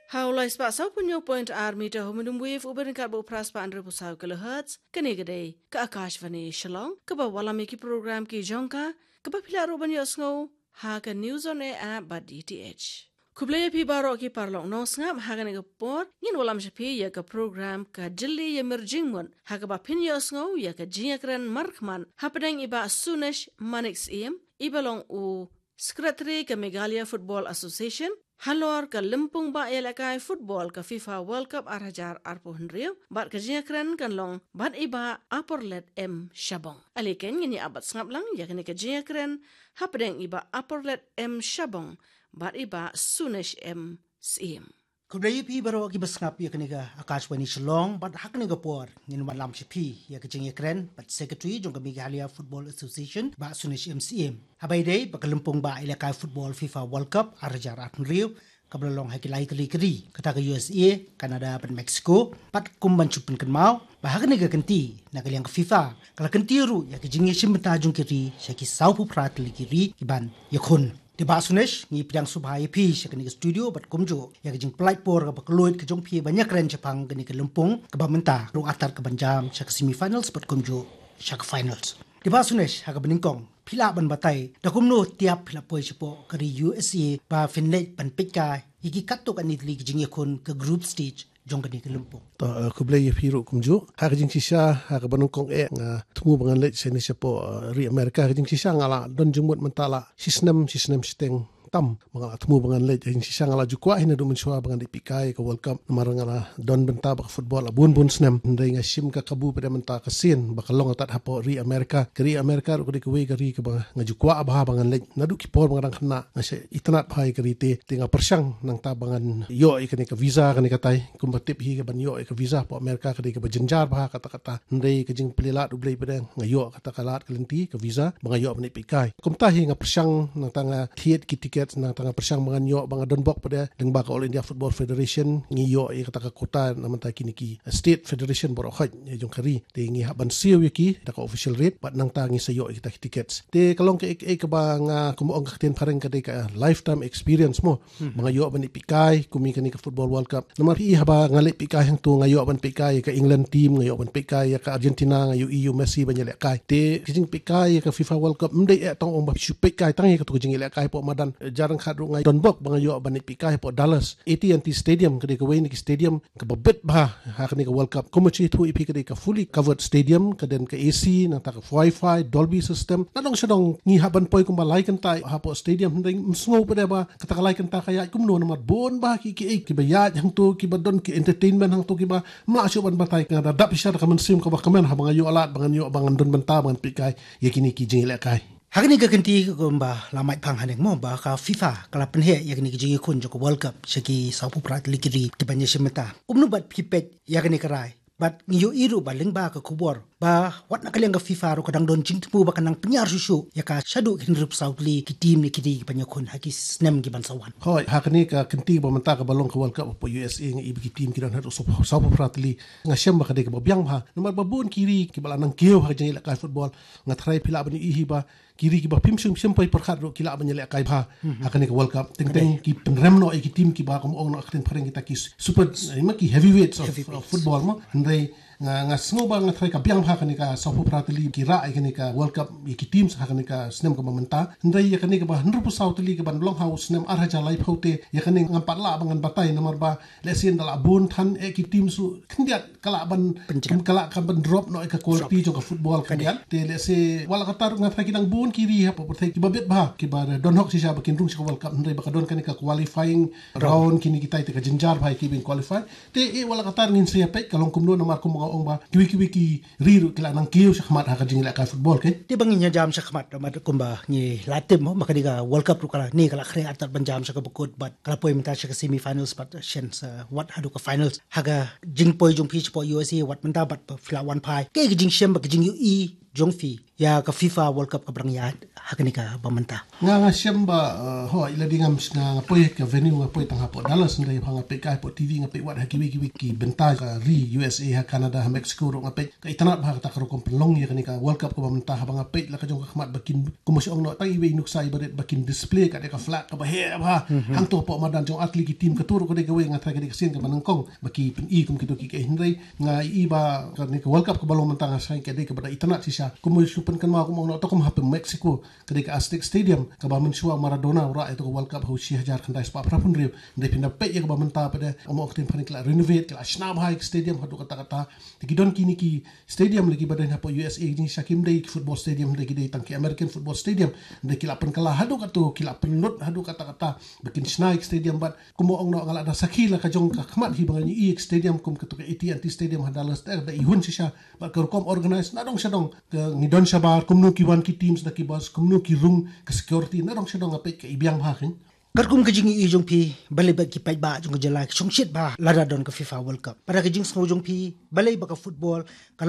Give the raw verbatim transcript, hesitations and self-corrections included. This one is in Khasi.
Ha u lai spah saw phew hynñiew point ar meter ha u medium wave uba ryngkat bad u phra spah hynriew phew saw kilohertz, kane ka dei ka Akashvani Shillong, kaba wallam ïa ki program ki jong ka, kaba phi lah ruh ban ïohsngew ha ka News on Air app bad D T H. Khublei ïa phi baroh ki paralok nongsngap, ha kane ka por ngin wallam sha phi ïa ka program Ka Jylli Ïamir Jingmut, ha kaba phin ïohsngew ïa ka jingïakren markhmat hapdeng i Bah Sunesh Manik Syiem, iba long u Secretary ka Meghalaya Football Association, halor ka lympung bah ïalehkai football ka FIFA World Cup ar hajar arphew hynriew, bad ka jingïakren kan long bad i Bah Aporlet M Shabong. Ale keiñ, ngin ïa ap bad sngap lang ïa kane ka jingïakren hapdeng i Bah Aporlet M Shabong bad i Bah Sunesh M Syiem. Khublei ïa phi baroh kiba sngap ïa kane ka Akashvani Shillong, bad ha kane ka por ngin wallam sha phi ïa ka jingïakren bad Secretary jong ka Meghalaya Football Association, Bah Sunesh M Syiem. Haba ïadei bad ka lympung bah ïalehkai football FIFA World Cup ar hajar arphew hynriew, kaba la long ha ki lai tylli ki ri, kata ka U S A, Canada bad Mexico, bad kum ban shu pynkynmaw ba ha kane ka kynti, na ka liang ka FIFA ka la kyntiew ruh ïa ka jingïashim bynta jong ki ri sha ki saw phew phra tylli ki ri kiban ïakhun. Te Bah Sunesh, ngi pdiang sngewbha ïa phi sha kane ka studio bad kumjuh ïa ka jingpynlait por kaba kylluid ka jong phi ban ïakren shaphang kane ka lympung, kaba mynta ruh artat ka ban jam sha ka semi finals bad kumjuh sha ka finals. Te Bah Sunesh, ha kaba nyngkong, phi lah ban batai da kumno tiap phi la poi shapoh ka ri U S A ba phin leit ban peitkai ïa ki katto katne tylli ki jingïakhun ka group stage jong kane ka lympung? To, eh, khublei ïa phi ruh kumjuh. Ha ka jingshisha, ha kaba nyngkong eh, nga thmu ba ngan leit shane shapoh, eh, ri America. Ha ka jingshisha nga la don jingmut mynta la shisnem, shisnem shiteng tam ba nga la thmu ba ngan leit. Ha ka jingshisha nga la ju kwah hi naduh mynshuwa ba ngan leit peitkai ka World Cup, namar nga la don bynta bad ka football la bun bun snem. Hynrei nga shim ka kabu pat mynta ka sien ba ka long tad hapoh ri America. Ka ri America ruh ka dei kawei ka ri kaba nga ju kwah bha ba ngan leit. Naduh ki por ba nga dang khynnah nga shait itynnad bha ïa ka ri te, te nga pyrshang nangta ba ngan ïoh ïa kane ka visa kane katai. Kumba tip hi, ka ban ïoh ïa ka visa hapoh America ka dei kaba jynjar bha katta katta. Hynrei ka jingplie lad U Blei pat nga ïoh kata ka lad ka lynti ka visa ba nga ïoh ban leit peitkai. Kumta hi nga pyrshang nangta nga thied ki ticket, nangta nga pyrshang ba ngan ïoh, ba nga don bok pat lyngba ka All India Football Federation, ngi ïoh ïa kata ka quota na bynta kine ki state federation baroh khoit jong ka ri. Te ngi hap ban siew ïa ki da ka official rate bad nangta ngi sa ïoh ïa kita ki tickets. Te ka long kaei kaei kaba nga, kumba ong ka ktien phareng, ka dei ka lifetime experience mo. Hmm. Ba nga ïoh ban leit peitkai kum ïa kane ka Football World Cup. Namar phi i, haba nga leit peitkai hangto nga ïoh ban peitkai ïa ka England team, nga ïoh ban peitkai ïa ka Argentina, nga ïohi ïa u Messi ban ïalehkai. Te ka jingpeitkai ïa ka FIFA World Cup ym dei eh tang ong ba phi shu peitkai tang ïa kato ka jingïalehkai hapoh madan. Jar ryngkat ruh nga don bok ba nga ïoh ban leit peitkai hapoh Dallas, A T and T Stadium, ka dei kawei na ki stadium kaba bit bha ha kane ka World Cup. Kumba shu ïathuh ïa phi, ka dei ka fully covered stadium, ka don ka A C, nangta ka Wi-Fi, Dolby system. Na dong sha dong ngi hap ban poi kumba lai kynta hapoh stadium, hynrei ym sngew pat ba kata ka lai kynta ka ïaid kumno, namar bun bha ki, kiei kiba ïaid hangto, kiba don ki entertainment hangto, kiba ym lah shuh ban batai. Nga da dap shisha da ka mynsiem kaba kmen haba nga ïoh lad ba ngan ïoh, ba ngan don bynta ba ngan peitkai ïa kine ki jingïalehkai. Ha kane ka kynti, kumba la mait phang haneng mo, ba ka FIFA ka la pynheh ïa kane ka jingïakhun jong ka World Cup sha ki saw phew phra tylli ki ri kiban ïashim bynta. Kumno pat phi peit ïa kane ka rai? Bad ngi ïohi ruh ba lyngba ka khubor ba wat na ka liang ka FIFA ruh ka dang don jingthmu ba kan nang pynïar shuh shuh ïa ka shaduh ki hynriew phew saw tylli ki team ne ki ri kiban ïakhun ha ki snem kiban sa wan. Hooid, ha kane ka kynti ba mynta kaba long ka World Cup hapoh U S A, nga i ba ki team ki don haduh saw phew phra tylli. Nga shem ba ka dei kaba biang bha, namar ba bun ki ri kiba la nang kiew ha ka jingïalehkai football. Nga tharai phi lah ban ïohi ba ki ri kiba phim shym, shym poi pyrkhat ruh ki lah ban ïalehkai bha ha kane ka World Cup. Teng teng ki pynrem noh ïa ki team kiba, kum ong noh ka ktien phareng, kita ki super, eh, ma ki heavyweights of, of football mo. Hynrei nga, nga sngew ba, nga tharai ka biang bha kane ka saw phew phra tylli ki rah ïa kane ka World Cup ïa ki teams ha kane ka snem kaba mynta. Hynrei ïa kane kaba hynriew phew saw tylli kaban long ha u snem ar hajar laiphew te, ïa kane ngam pat lah ba ngan batai, namar ba lehse ynda la bun than eh ki teams ruh khyndiat ka lah ban, ka lah ka ban drop noh ïa ka quality jong ka football khyndiat. Te lehse wat la katta nga tharai ki dang bun ki ri hapoh pyrthei kiba bit bha, kiba don hok shisha ba kin rung sha ka World Cup, hynrei ba ka don kane ka qualifying round, kine kitai te ka jynjar bha ïa ki ban qualify. Te eh wat la katta ngin sa ïa peit ka long kumno, namar kumba nga ong ba kiwei kiwei ki ri ruh ki la nang kiew shakhmat ha ka jingïalehkai football, keiñ. Te ba ngin ïa jam shakhmat, namar kumba ngi la tip mo, ba kane ka World Cup ruh ka la, ne ka la khreh artat ban jam sha kaba kut, bad ka la poi mynta sha ka semi finals bad shen sa wat haduh ka finals. Ha ka jingpoi jong phi shapoh U S A wat mynta bad phi la wan phai, kaei ka jingshem bad ka jingïohi jong phi ïa ka FIFA World Cup kaba dang ïaid ha kane kaba mynta? Nga, nga shem ba, uh, ho, ila di ngam, nga, nga poi ka venue, nga poi tang hapoh Dallas, ndai ba nga peit kai hapoh T V, nga peit wat ha kiwei kiwei ki bynta ka ri U S A, ha Canada, ha Mexico ruh nga peit. Ka itynnad bha kata ka rukom pynlong ïa kane ka World Cup kaba mynta, haba nga peit la ka jong ka khmat ba kin, kumba shu ong noh, tang iwei i nuksa iba rit ba kin display ka dei ka flag kaba heh bha. Mhm. Hangto hapoh madan jong ar tylli ki team, kato ruh ka dei kawei, nga tharai ka dei ka sien kaba nyngkong ba ki pyni kum kito ki, ka hynrei nga i ba kane ka World Cup kaba long mynta nga sngew ka dei kaba da itynnad shisha. Kumba shu pynkynmaw, kumba ong noh, to kum hapoh Mexico, ka dei ka Aztec Stadium, kaba mynshuwa Maradona u rah ïa kato ka World Cup ha u shi hajar khyndai spah phra phew hynriew. Ndai phin da peit ïa kaba mynta pat de, ong ong ktien phan, ki la renovate, ki la shna bha ïa ka stadium haduh katta katta. Te ki don kine ki stadium lei kiba don hapoh U S A, kine sha kim dei ki football stadium, dei ki dei tang ki American football stadium. Dei ki la pynkylla haduh kato, ki la pynlut haduh katta katta ba kin shna ïa ka stadium. Bad kumba ong noh, nga la da sakhi la ka jong ka khmat hi ba ngi ïohi ïa ka stadium kum kato ka A T and T Stadium ha Dallas, te da i hun shisha. Bad ka rukom organize nadong shadong, ka ngi don shabar, kumno ki wan ki teams da ki bus, kumno ki rung, ka security nadong shadong, nga peit ka i biang bha keiñ. Katkum ka jingïohi jong phi, balei ba ki paidbah jong ka jylla ki shongshit bha lada don ka FIFA World Cup? Pat da ka jingsngew jong phi, balei ba ka football ka